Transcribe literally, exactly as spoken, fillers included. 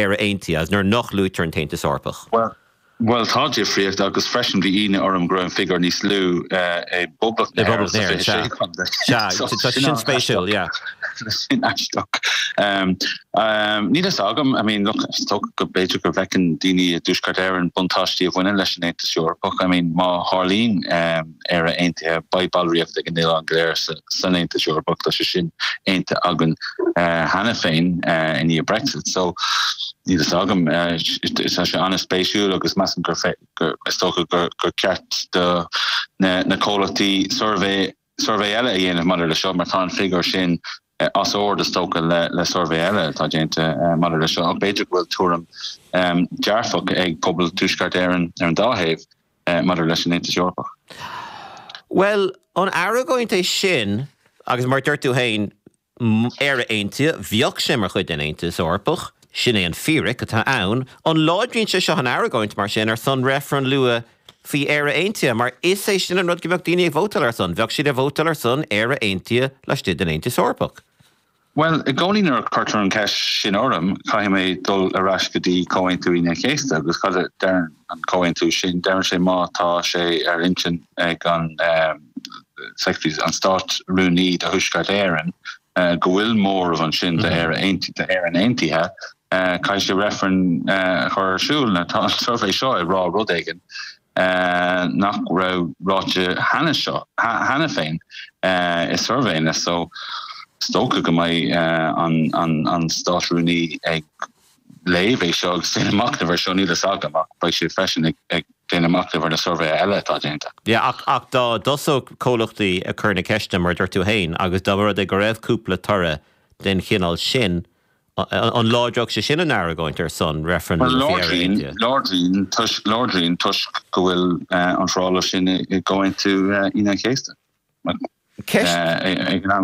Éire Aontaithe agus nuair nach luaitear an tAontas Eorpach. Well, Well tá difríocht agus freisin bhí ionadh orm go raibh an figiúr níos lú i bPoblacht na hÉireann. Sin spéisiúil, yeah. Sin aisteach. Níl fhios agam, I mean, look, is dócha go b'fhéidir go bhfeiceann daoine i dTuaisceart Éireann buntáistí a bhaineann leis an Aontas Eorpach. I mean, má tharlaíonn Éire Aontaithe, beidh ballraíocht ag an oileán go léir san Aontas Eorpach, tá sé sin aontaithe againn cheana féin i ndiaidh Brexit. So, níl fhios agam, tá sé an-spéisiúil agus measaim gur gur is dócha gur gur ceart do na na comhlachtaí suirbhé suirbhé eile a dhéanamh maidir le seo mar tá an figiúr sin as ord is dócha le le suirbhé eile atá déanta maidir le seo ach b'fhéidir go bhfuil tuairim dearfach ag pobal Tuaisceart Éireann ar an dá thaobh maidir leis an Aontas Eorpach. Well, an argóint é sin agus mar dúirt tú féin Éire Aontaithe, bheadh sé mar chuid den Aontas Eorpach, sin é an fíric atá ann, an láidríonn sé seo an argóint mar sin ar son reifreann luath faoi Éire Aontaithe, mar is é sin an rud go mbeadh daoine ag vótáil ar son, bheadh siad ag vótáil ar son Éire Aontaithe laistigh den Aontas Eorpach. Bhuel, i gcónaí nuair a cuirtear an cheist sin orm, caithfidh mé dul ar ais go dtí Comhaontú Aoine an Chéasta agus cad a deireann an comhaontú sin? Deireann sé má tá sé ar intinn ag an Secretary, an Stát-Rúnaí do Thuaisceart Éireann, go bhfuil móramh ansin d'Éire d'Éirinn Aontaithe, caithfidh sé reifreann a chur ar siúl. Now tá an suirbhé seo ag rá rud éigin nach raibh ráite cheana seo, cheana féin i suirbhéanna so is dócha go mbeidh an an Stát-Rúnaí ag léamh é seo agus déanamh machnamh ar seo, níl fhios agam ach beidh sé freisin ag déanamh machnamh ar na suirbhéithe eile atá déanta. Yeah, ach ach dá dtosódh comhlachtaí ag cur na ceiste mar a dúirt tú féin agus dá mba rud é go raibh cúpla toradh den chineál sin, an láidreodh sé sin an argóint ar son reifreann Well, láidríonn, láidríonn, toisc, láidríonn toisc go bhfuil an foráil sin i gComhaontú Aoine an Chéasta. Ceist. Ag an am.